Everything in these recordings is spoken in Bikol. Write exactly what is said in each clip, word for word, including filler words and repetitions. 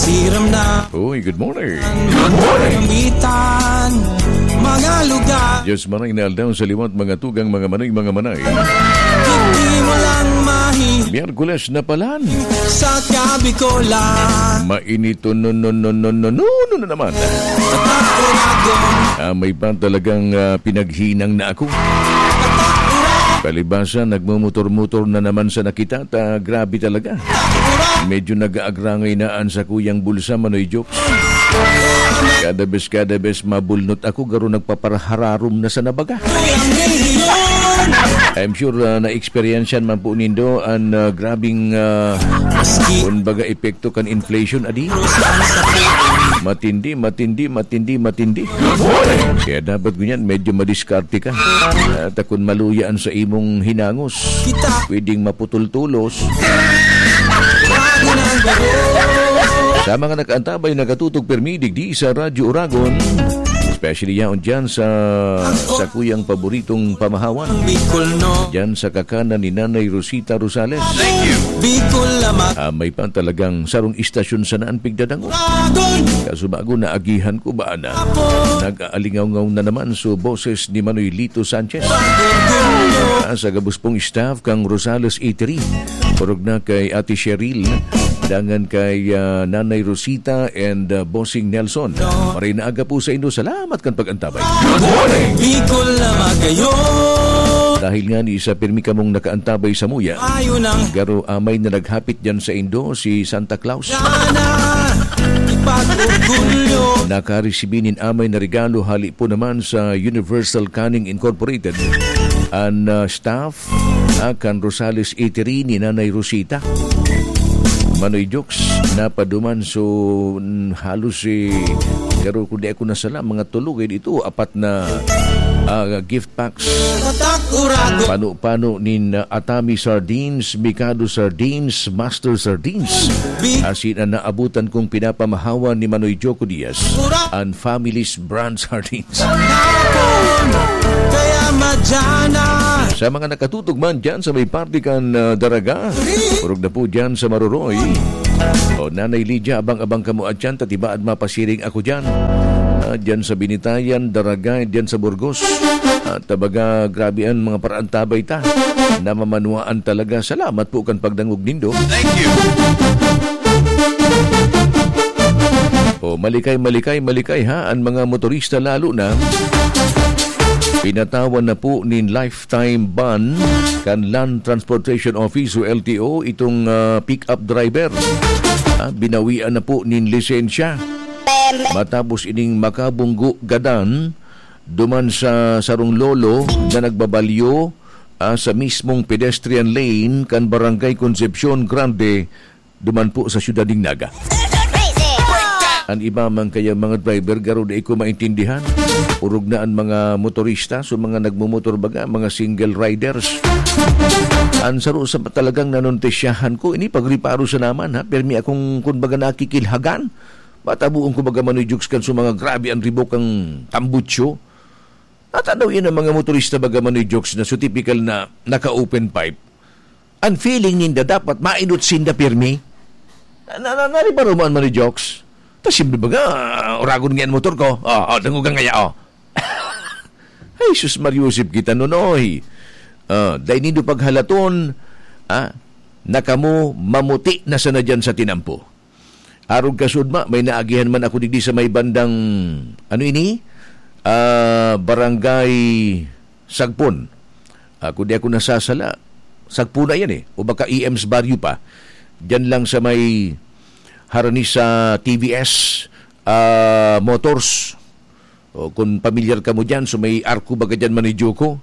Tiram na Uy, good morning. Gamitan, mga lugar. Diyos maray na aldaw sa liwat, mga tugang, mga manay, mga manay. Hindi mo lang mahi Miyerkules na palan. Sa Kabikolan. Mainit to no, no, no, no, no, no, no, no naman. Tatak Uragon. Ah, may pa talagang, ah, pinaghinang na ako. Tatak Uragon. Palibasa, nagmumotor-motor na naman sa nakita, ta grabe talaga. Medyo nag-aagrangay na an sakuyang bulsa, Manoy Jokes. Kada bes, kada bes mabulnot ako, garo nagpaparahararom na sa nabaga. I'm sure, ah, na-experience man po nindo an, ah, grabing, ah, kumbaga, epekto kan inflation, adi? Matindi, matindi, matindi, matindi. Kaya dapat ngunyan, medyo madiskarte ka. At kun maluya an sa imong hinangos, pwedeng maputol-tulos. Sa mga nakaantabay, nakatutok pirmi digdi sa Radyo Uragon, especially yaon dyan sa, sa kuyang paboritong pamahawan. Dyan sa kakanan ni Nanay Rosita Rosales. Bicol lamang. Ah, may pa talagang sarong istasyon sana an pigdadangog. Kaso bago naagihan ko ba na, nag-aalingawngaw na naman so boses ni Manoy Lito Sanchez. Ah, sa gabos pong staff kang Rosales Eatery. Orog na kay Ate Cheryl, dangan kay, ah, Nanay Rosita and, ah, Bossing Nelson. Maray na aga po sa inyo. Salamat kan pag-antabay. Bicol na magayon. Dahil nga ni isa pirmi kamong nakaantabay sa muya, Ayo nang garo amay na naghapit dyan sa indo si Santa Claus. Sana ipag-orgulyo. Nakaresibi nin amay na regalo hali po naman sa Universal Canning Incorporated. An, ah, staff, ah, kan Rosales Eatery ni Nanay Rosita. Manoy Jokes, napaduman. So, mm, halos, eh, pero kung di ako nasala, mga tulo, eh, dito, apat na, ah, gift packs. Tatak Uragon. Pano-pano nin, ah, Atami Sardines, Mikado Sardines, Master Sardines. Big Asin ang naabutan kong pinapamahawan ni Manoy Joko Diaz, Ura- an Family's Brand Sardines. Hapon, kaya madyan na. Sa mga nakatutok man dyan sa may parte kan, ah, Daraga, orog na po dyan sa Maroroy. O, Nanay Lydia, abang-abang kamo at dyan, tatibaad mapasiring ako dyan. Ah, dyan sa Binitayan, Daraga, dyan sa Burgos. At tabaga, grabe an mga paraantabay ta. Namamanwaan talaga. Salamat po kan pagdangog nindo. Thank you. O, malikay, malikay, malikay, ha, an mga motorista lalo na. Pinatawan na po nin lifetime ban kan Land Transportation Office o L T O itong, ah, pick-up driver. Ah, binawian na po nin lisensya. Matapos ining makabunggo gadan duman sa sarong lolo na nagbabalyo, ah, sa mismong pedestrian lane kan Barangay Concepcion Grande, duman po sa siyudad nin Naga. An iba man kaya mga driver, garo dai ko maintindihan. Orog na an mga motorista, so mga nagmomotor baga, mga single riders. An saro sa talagang nanontisyahan ko, ini pagreparo sa naman, ha? Permi akong, kumbaga, nakikilhagan. Matabuon ko baga, Manoy Jokes, kan so mga grabe an ribok ang tambutso. At ano yan ang mga motorista baga, Manoy Jokes, na so typical na naka-open pipe? Ang feeling ninda dapat mainot sinda pirmi. Na, na, na, nari ba ruman, Manoy Jokes? Ta simple baga, ah, uragon nga an motor ko. Oh, oh, dangogan kaya, oh. Ay, sus, Mariusip kita, Nonoy. Ah, dai nindo paghalaton, ah, na kamo mamuti na sana dyan sa tinampo. Arog kasudma, may naagihan man ako digdi sa may bandang, ano ini? Ah, Barangay Sagpon. Ah, kung di ako nasasala, Sagpon na yan eh. O baka E M's Barrio pa. Diyan lang sa may harani sa T V S, ah, Motors. O, kung pamilyar kamo diyan, so may arko baga diyan, Manoy Joko.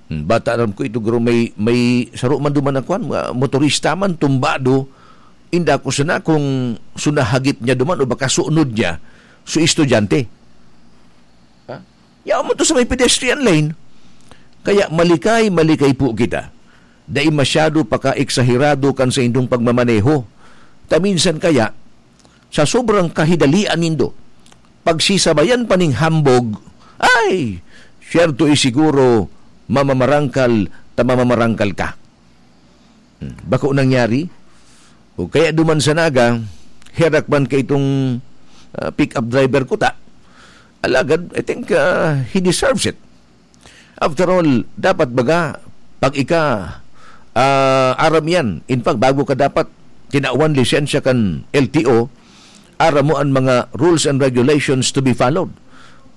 Hmm, bata aram ko, ito garo may, may saro man duman na kwan, mga motorista man, tumbado. Inda ko sana kung sunahagip niya duman o baka sunod niya, so estudyante. Ha? Yaon mo to sa may pedestrian lane. Kaya malikay, malikay po kita. Dai masyado paka-eksaherado kan saindong pagmamaneho. Ta minsan kaya, sa sobrang kahidalian nindo, pagsisabayan pa ning hambog, ay, siyerto, eh, siguro, mamamarangkal ta mamamarangkal ka. Hmm, bako nangyari? O kaya duman sa Naga, herak man kay itong, ah, pick-up driver ko ta. Alagad, I think, ah, he deserves it. After all, dapat baga, pag ika, ah, aram yan. In fact, bago ka dapat tinawan lisensya kan L T O, aram mo an mga rules and regulations to be followed.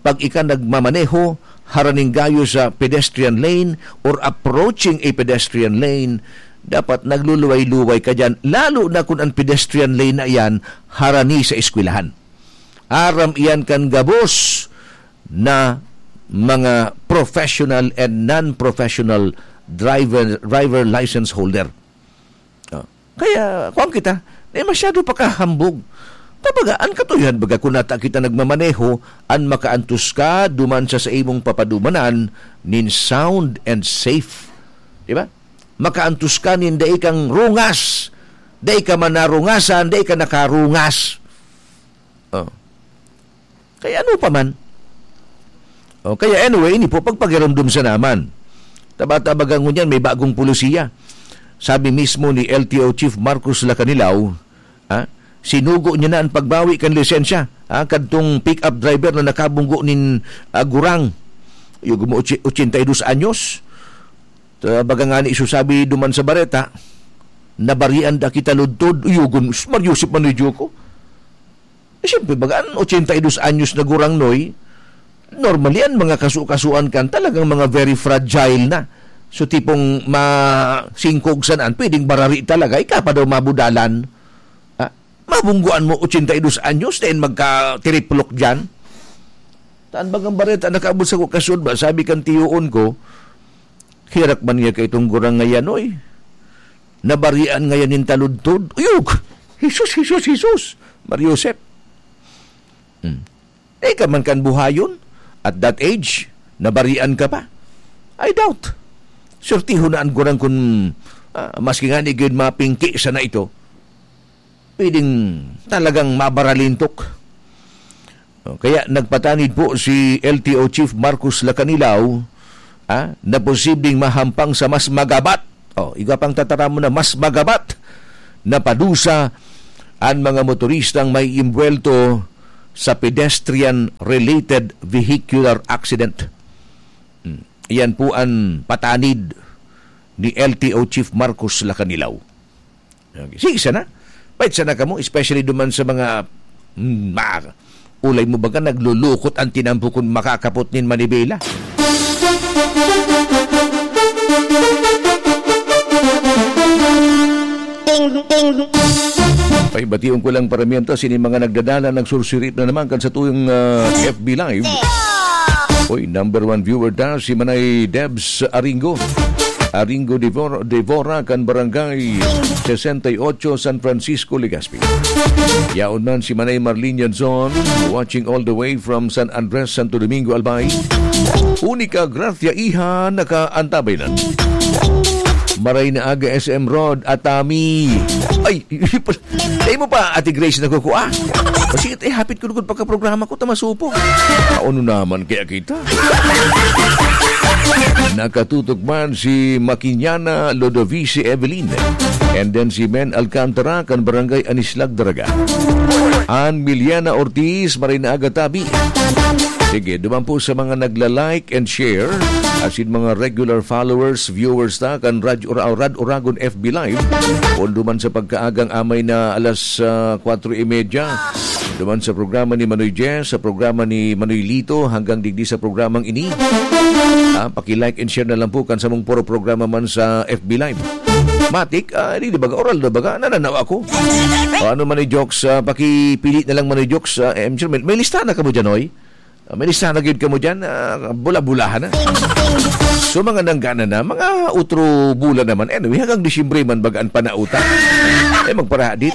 Pag ika nagmamaneho, haraning gayo sa pedestrian lane or approaching a pedestrian lane, dapat nagluluway-luway ka diyan, lalo na kung ang pedestrian lane na iyan harani sa eskwelahan. Aram iyan kan gabos na mga professional and non-professional driver, driver license holder. Ah, kaya, kuwan kita, eh, masyado pa kahambog. Kumbaga, an katuyohan baga, kung nata kita nagmamaneho, an makaantos ka duman sa, sa imong papadumanan nin sound and safe. Di ba? Makaantos ka nin dai kang rungas, dai ka man narungasan, dai ka nakarungas. Oh. Kaya ano pa man? Oh, kaya anyway, ini po, pagpagiromdom sa naman. Taba-tabagan ngunyan, may bagong polisiya. Sabi mismo ni L T O Chief Marcos Lacanilaw, ha, sinugo niya na ang pagbawi kan lisensya, ha, kadtong pick-up driver na nakabunggo nin, ah, gurang. Yung mo, otse-, ochenta y dos anyos. Ta-, baga nga ni isusabi duman sa bareta, nabarian da kita ludtod. Uyugon, Maryosep man ni Diyo ko. Eh, siyempre, baga an ochenta y dos anyos na gurang, Noy, normally, an mga kasu-kasuan kan talagang mga very fragile na. So, tipong masingkog sanaan, pwedeng barari talaga, ika pa daw mabudalan. Ha? Mabungguan mo ochenta y dos anyos, then magka-triplok diyan. Taan bagang bareta, nakaabot sa ko kasud ba, sabi kan tiyoon ko, "Herak man niya kay itong gurang ngayan, oy. Nabarian ngayan nin taludtod." Uyog! Jesus, Jesus, Jesus! Maryosep. Hmm. Eh, ka man kan buhayon, at that age, nabarian ka pa. I doubt. Swertihon na an gurang kun, ah, maski nga ni gyud mapingki sana ito, pwedeng talagang mabaralintok. O, kaya nagpatanid po si L T O Chief Marcos Lacanilaw, ah, na posibleng mahampang sa mas magabat. O, igwa pang tataramon na mas magabat na padusa an mga motoristang maiimbwelto sa pedestrian-related vehicular accident. Hmm. Iyan po an patanid ni L T O Chief Marcos Lacanilaw. Okay. Sige sana. Pait sana kamo, especially duman sa mga, mm, ma-, ulay mo baga naglulukot ang tinampo kun makakapot nin manibela. Ting, ting. Pahibation ko lang, paramihan ta, sini mga nagdadala, nagsursirip na naman kan satuyang, ah, F B Live. Oy, number one viewer ta, si Manay Debs Aringo. Aringo Devor-, Devora kan Barangay sesenta y ocho, San Francisco, Legazpi. Yaon man si Manay Marlene Yanzon, watching all the way from San Andres, Santo Domingo, Albay. Unica Gracia Iha, nakaantabay na. Maray na aga, S M Rod, Atami. Ay, Dai mo pa, Ate Grace, nagkukua? O sige, eh, hapit ko lugod pagka-programa ko, ta masupog. Ano naman kaya kita? Nakatutok man si Makinyana Lodovice Evelyn. And then si Men Alcantara, kan Barangay Anislag, Daraga. An Miliana Ortiz, maray na aga tabi. Sige, duman po sa mga nagla-like and share, asin mga regular followers, viewers ta, kan Radyo Ura-, Rad Uragon F B Live. Pondo man sa pagkaagang amay na alas, ah, kwatro y media. Duman sa programa ni Manoy Jess, sa programa ni Manoy Lito, hanggang digdi sa programang ini. Ah, paki-like and share na lang po kan samong puro programa man sa F B Live. Matik, ah, di, di baga, oral na baga, nananaw ako. O, ano man ni Jokes, ah, pakipili na lang man ni Jokes, ah, M C, may, may lista na kamo dyan, oy? Ah, may listahan na gyud kamo dyan, ah, bula-bulahan na. So, mga nanggana na, mga utro bula naman. Anyway, hanggang Disyembre man baga an panauta. Eh, magparahadit.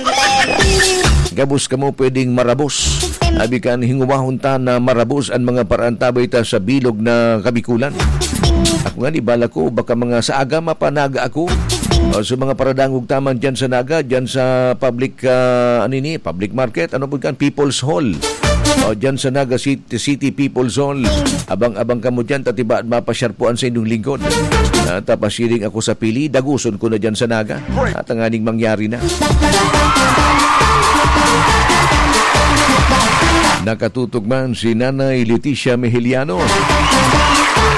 Gabos kamo pwedeng marabos. Abi kan hingowahon ta na marabos an mga paraantabay ta sa bilog na Kabikulan. Ako nga, di bala ko, baka mga sa aga mapanaga ako. O, sa mga paradangog taman dyan sa Naga, dyan sa public, ah, ano ini, public market, ano po kan, People's Hall. O, dyan sa Naga City, City People's Hall. Abang-abang kamo dyan, tatiba at mapasyar po an sa inyong lingkod. Ah, tapasiring ako sa pili, daguson ko na dyan sa Naga. At ang aning mangyari na. Nakatutok man si Nanay Leticia Mejeliano.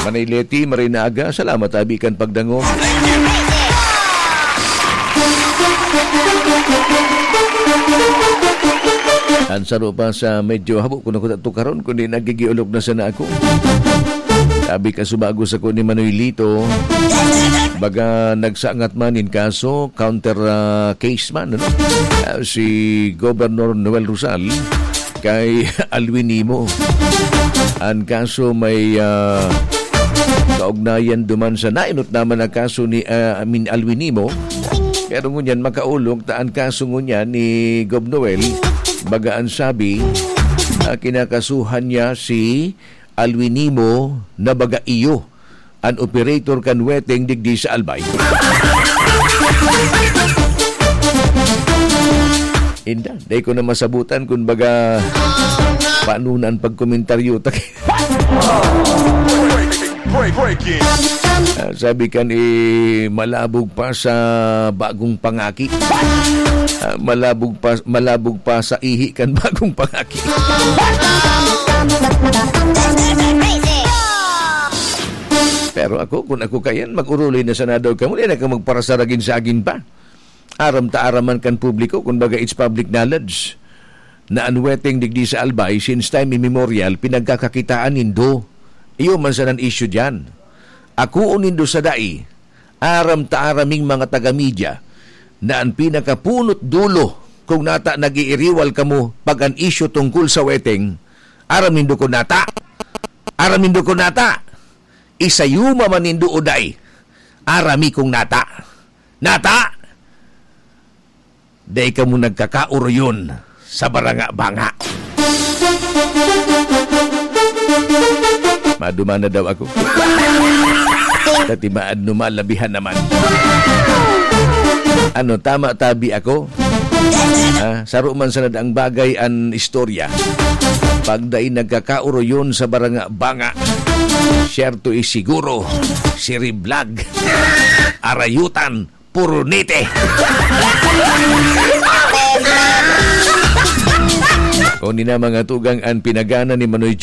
Manay Leti, maray na aga. Salamat abi kan pagdangog. An saro pa sa medyo habo ko na kuta to karon, kundi nagigiolok na sana ako. Sabi ka subago sa ko ni Manoy Lito, baga nagsangat man in kaso, counter, ah, case man, ano? Ah, si Governor Noel Rosal kay Alwin Nimo. An kaso may, ah, kaugnayan duman sa nainot naman na kaso ni, ah, I mean, Alwin Nimo. Pero ngunyan, makaolok ta an kaso ngunyan ni Gov Noel, baga an sabi, ah, kinakasuhan niya si Alwin Nimo na baga iyo an operator kan weteng digdi sa Albay. Inda, dai ko na masabutan kun baga paano na an pagkomentaryo ta. Break, break, break. Ah, sabi kan, eh, malabog pa sa bagong pangaki. Ah, malabog pa, malabog pa sa ihi kan bagong pangaki. Pero ako, kun ako kayan, mag-uruli na sana daw kamo, di na ka magparasaragin-sagin pa. Aram ta aram man kan publiko, kun baga it's public knowledge, na an weteng digdi sa Albay, since time immemorial, pinagkakakitaan nindo. Iyo man sana an issue diyan. Akoon nindo sa dai, aram ta aram ming mga taga-media, na an pinakapunot dulo, kung nata nag-iiriwal kamo pag an issue tungkol sa weteng, aram nindo kun nata. Aram nindo kun nata. Isayuma man nindo o dai, aram mi kun nata. Nata! Dai kamo nagkakaoroyon sa baranga-banga. Maduma na daw ako. Tatimaad no malabihan naman. Ano, tama tabi ako? Ha? Saro man sana ang bagay an istorya. Pag dai nagkakaoroyon sa baranga-banga, siyerto is siguro, siriblag, arayutan, purunite. O ni na mga tugang an pinagana ni Manoy